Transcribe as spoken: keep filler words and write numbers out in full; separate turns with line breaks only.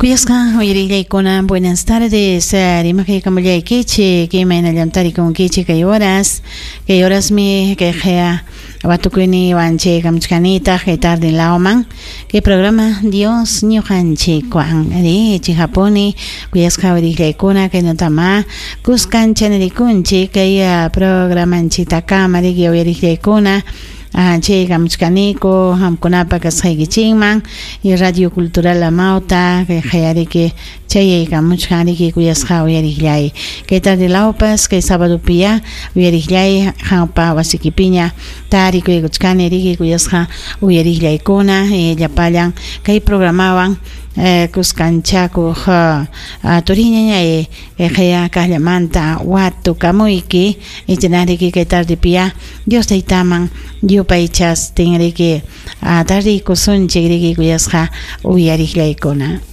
Kuyasqa uyariqllaykuna, buenas tardes. Rimakaykamullaykichik, imaynallam tarikunkichik kay horas. Kay horasmi kay qaya watukuyniwan chaykamuchkanitaq kay tarde lawman. Kay programa Dios ñuqanchikwan. Ari chihapuni kuyasqa uyariqllaykuna kaynatama kuskancha nirikunchik kay programanchitakama riki uyariqllaykuna. Chaykamuchkaniku qamkunapa kasqaykichikman y Radio Cultural Amauta kay qayariki chayaykamuchkan riki kuyasqa uyariqllay. Kay tarde lawpas kay sabadopiya uyariqllay qampa wasikipiña tarikuykuchkani riki kuyasqa uyariqllaykuna llapallan kay programawan kuskanchakuq turiñañay qaya kaqllamanta watukamuyki ichanariki kay tardepiya Dios taytaman yupaychastin riki tardiykusunchik riki kuyasqa uyariqllaykuna.